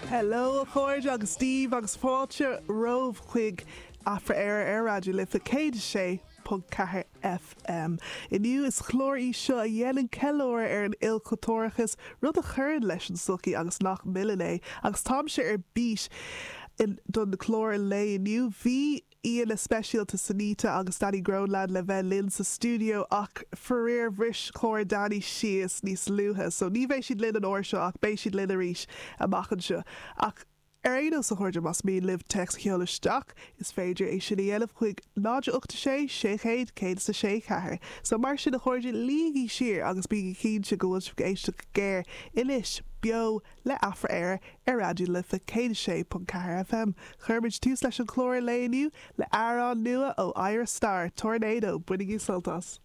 Hello a chairde agus Dia daoibh agus fáilte romhaibh chuig Afra-Éire ar Raidió Life 106.4 FM. Inniu is clár í seo a dhéanann ceiliúradh ar an ilchultúrachas, rud a chuireann leis an tsochaí agus nach milleann é. Agus táimse ar bís don chlár lae inniu. Bhí aíonna speisialta Sonita agus Danny Groenland le bheith linn sa stiúideo ach faraor bhris carr Danny síos níos luaithe so ní bheidh siad linn an uair seo ach beidh siad linn arís amach anseo. Ach ar aon nós a chairde más mian libh téacs a sheoladh isteach is féidir é sin a dhéanamh chuig 0 8 6 600 106 4. So mar sin a chairde luígí siar agus bígí cinnte go bhfuil sibh ag éisteacht go géar anois beo le Afra-Éire ar Raidió na Life 106.4 FM. Cuirimid tús leis an chlár lae inniu le amhrán nua ó Ayra Starr, Tornado. Bainigí sult as.